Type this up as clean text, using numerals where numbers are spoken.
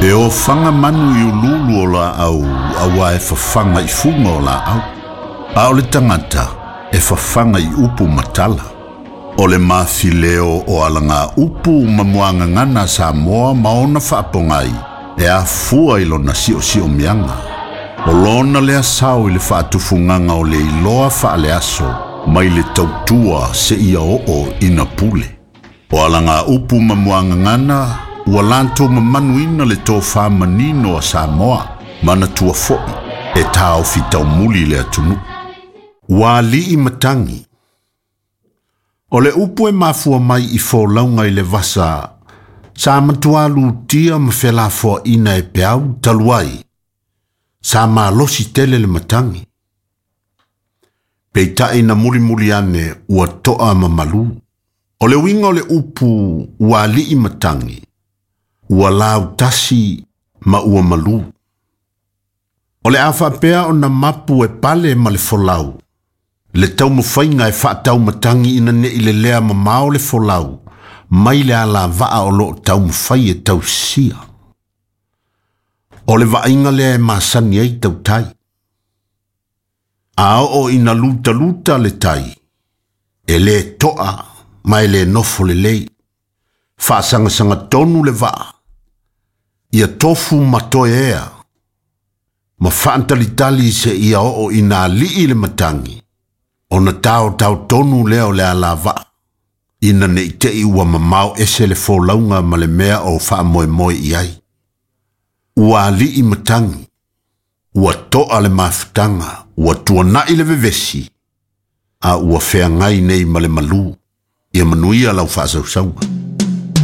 E ofaga manu i uluulu o laau auā e fafaga i fuga o laau, a o le tagata e fafaga i upu ma tala. O le mafileo o alagaupu ma muagagana a Samoa ma ona faapogai e afua i lona siosiomiaga. O lona lea sao i le faatufugaga o le iloa faaleaso mai le tautua seia oo ina pule. O alagaupu ma muagagana ua latou mamanuina le tofa manino a Samoa, manatua foi e taofi taumuli le atunuu. Ua alii matagi. O le upu e mafua mai i folauga i le vasa, sa matua lutia ma felafoaina e peau talu ai, sa malosi tele le matagi. Peitai na mulimuli ane ua toa ma malu. O le uiga o le upu ua alii matagi, ua lautasi ma ua malu. O le a faapea ona mapu e pale ma le folau, le taumafaiga e faataumatagi ina nei lelea mamao le folau, mai le alavaa o loo taumafai e tausia. O le vaaiga lea e masani ai tautai. A oo ina lutaluta le tai, e le toa ma e le nofo lelei. Faasagasagatonu le vaa, ia tofu ma toeea, ma faatalitali seia oo ina alii le matagi, ona taotao tonu lea o le alavaa, ina nei tei ua mamao ese le folauga ma le mea o faamoemoe i ai. Ua alii matagi, ua toa le mafutaga, ua tuanai le vevesi, a ua feagai nei ma le malu. Ia manuia lau faasausauga.